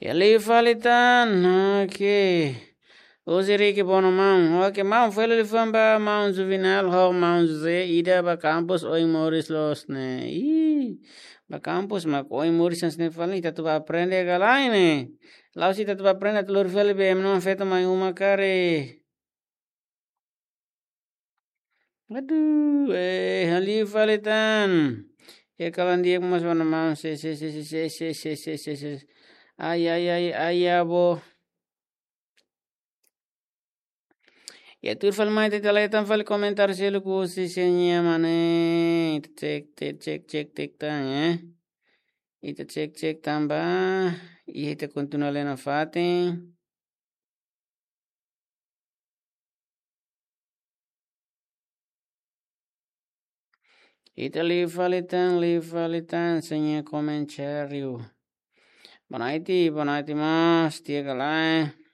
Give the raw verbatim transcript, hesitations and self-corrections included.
Iha liu fali tan, oke. Uzi Riki Bono maun. Oke, maun, fali liafuan ba maun Juvenal ho maun José ida ba kampus oin moris loos ne'e. Ih, ba kampus mak oin moris hanesan ne'e fali, ita atu ba aprende ka lae ne'e. La'ós ita atu ba aprende atu lori fali be ema nia feto mai uma karik. Aduh, eh, iha liu fali tan. Iha kalan di'ak mós ba maun, se, se, se. Ai, ai, ai, ai, abo. Iha tuir fali mai, ita lee tan fali komentáriu seluk husi Seña Mane. Ita cek, cek, cek, cek, cek tan, eh. Ita cek, cek tan ba. Iha ita kontinua lee nafatin. Ita liu fali tan, liu fali tan, Seña komentáriu. Boa noite, boa noite, mas, di'ak ka lae.